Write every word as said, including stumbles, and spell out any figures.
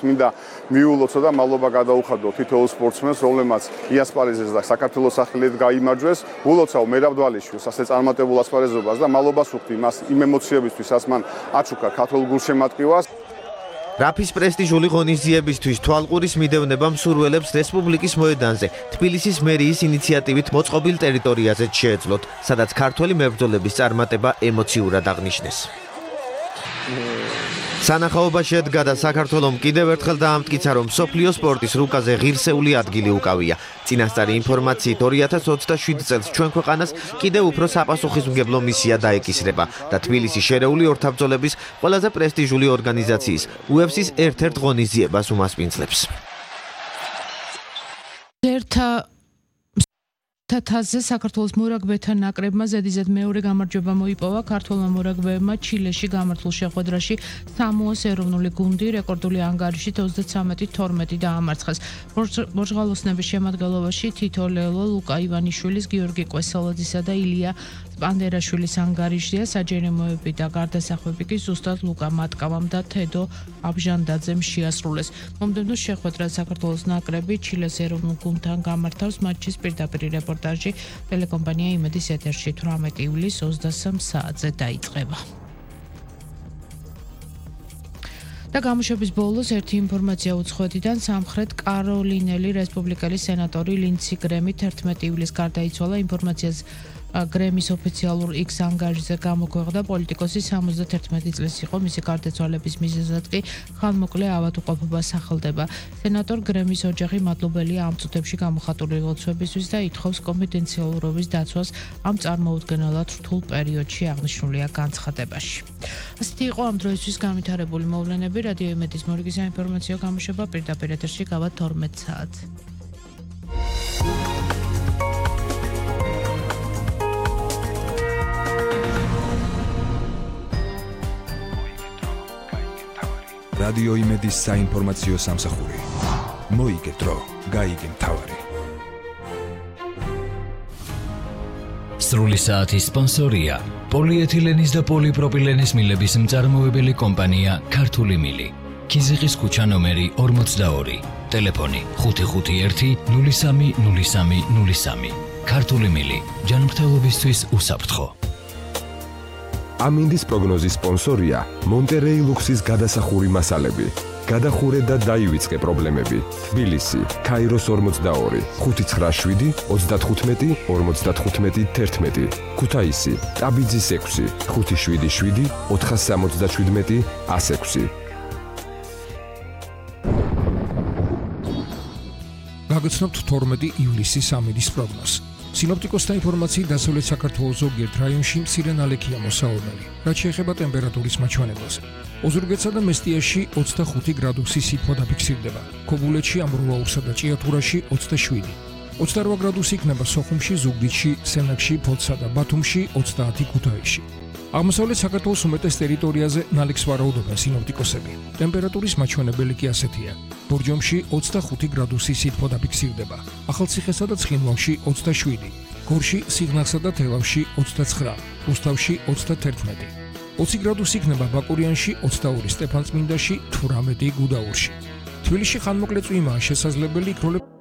მინდა მიულოცო და მადლობა გადაუხადო თითოეულ სპორტსმენს, რომლებმაც იასპარეზეს და საქართველოს სახელით გაიმარჯვეს. ულოცავ მერაბ დვალიშვილს ასე წარმატებულ ასპარეზობას და მადლობას ვუხდი მას იმ ემოციებისთვის, რაც მან აჩუქა ქართულ გულშემატკივარს. რაფის პრესტიჟული ღონისძიებისთვის თვალყურის მიდევნება მსურველებს რესპუბლიკის მოედანზე, თბილისის მერიის ინიციატივით მოწყობილ ტერიტორიაზე შეეძლოთ, სადაც ქართველი მებრძოლების წარმატება ემოციურად აღნიშნეს. სანახაობა შედგა და საქართველომ კიდევ ერთხელ დაამტკიცა, რომ მსოფლიო სპორტის რუკაზე ღირსეული ადგილი უკავია. წინასწარი ინფორმაციით ორი ათას ოცდაშვიდი წელს ჩვენ ქვეყანას კიდევ უფრო საპასუხისმგებლო მისია დაეკისრება და თბილისის შერეული ორთაბრძოლების ყველაზე პრესტიჟული ორგანიზაციის იუ ეფ სის ერთ-ერთ ღონისძიებას უმასპინძლებს. ერთა თათაზე საქართველოს მორაგბეთა ნაკრებმა ზედიზედ მეორე გამარჯვება მოიპოვა ქართველმა მორაგბეებმა ჩილეში გამართულ შეხვედრაში სამოას ეროვნული გუნდი რეკორდული ანგარიშით ოცდათვრამეტი თორმეტი დაამარცხეს. ბორჟღალოსნების შემადგენლობაში თითო ლელო, ლუკა ივანიშვილის, გიორგი კვესელაძისა და ილია პანდერაშვილის ანგარიშია, საჯერიმოები და გარდასახვები კი ზუსტად ლუკა მატკავამ და თედო აბჟანდაძემ შეასრულეს. მომდევნო შეხვედრა საქართველოს ნაკრები ჩილეს ეროვნულ გუნდთან გამართავს, მატჩის პირდაპირ რეპორტაჟი ტელეკომპანია იმედის ეთერში თვრამეტი ივლისის ოცდასამ საათზე დაიწყება. და გამოშვების ბოლოს ერთი ინფორმაცია უცხოეთიდან სამხრეთ კაროლინელი რესპუბლიკელი სენატორი ლინდსი გრემი თერთმეტი ივლისს გარდაიცვალა. ინფორმაციას გრემის ოფიციალურ X ანგარიშზე გამოქვეყნდა. პოლიტიკოსი სამოცდათერთმეტი წლის იყო, მისი გარდაცვალების მიზეზად კი ხანმოკლე ავადმყოფობა სახელდება. სენატორ გრემის ოჯახი მადლობელია ამ წუთებში გამოხატული ლოცვებისთვის და ითხოვს კონფიდენციალურობის დაცვას ამ წარმოუდგენელად რთულ პერიოდში აღნიშნულია განცხადებაში. ასეთი იყო ამ დროისთვის განვითარებული მოვლენები. რადიო იმედის მორიგი საინფორმაციო გამოშვება პირდაპირ ეთერში გავა თორმეტ საათს. რადიო იმედის საინფორმაციო სამსახური. მოიგე დრო, გაიგე მთავარი. სრული საათის სპონსორია პოლიეთილენის და პოლიპროპილენის მილების მწარმოებელი კომპანია ქართული მილი. ქიზიყის ქუჩა ნომერი ორმოცდაორი. ტელეფონი ხუთი ხუთი ერთი ნული სამი ნული სამი ნული სამი. ქართული მილი. ჯანმრთელობისთვის უსაფრთხო. ამინდის პროგნოზის სპონსორია მონტერეი ლუქსის გადასახური მასალები. გადახურე და დაივიწყე პრობლემები. თბილისი, ქაიროს ორმოცდაორი, ხუთი ცხრა შვიდი ოცდათხუთმეტი ორმოცდათხუთმეტი თერთმეტი. ქუთაისი, ტაბიძის ექვსი, ხუთი შვიდი შვიდი ოთხასამოცდაშვიდმეტი ასექვსი. გაგაცნობთ თორმეტი ივლისის ამინდის პროგნოზს. სინოპტიკოსთა ინფორმაციით დასავლეთ საქართველოს ზოგიერთ რაიონში მცირე ნალექია მოსავალნელი, რაც შეეხება ტემპერატურის მაჩვენებელს. ოზურგეთსა და მესტიაში ოცდახუთი გრადუსი სითბო დაფიქსირდება, ქობულეთში, ამბროლაურსა და ჭიათურაში ოცდაშვიდი. ოცდარვა გრადუსი იქნება სოხუმში, ზუგდიდში, სენაკში, ფოთსა და ბათუმში, ოცდაათი ქუთაისში. აღმოსავლეთ საქართველოს უმეტეს ტერიტორიაზე ნალექს ვარაუდობენ სინოპტიკოსები. ტემპერატურის მაჩვენებელი კი ასეთია. ბორჯომში ოცდახუთი გრადუსი სითბო დაფიქსირდება, ახალციხესა და ცხინვალში ოცდაშვიდი, გორში, სიღნაღსა და თელავში ოცდაცხრა, რუსთავში ოცდათერთმეტი. ოცი გრადუსი იქნება ბაკურიანში, ოცდაორი სტეფანწმინდაში, თვრამეტი გუდაურში. თბილისში ხანმოკლე წვიმაა შესაძლებელი, იქროლებს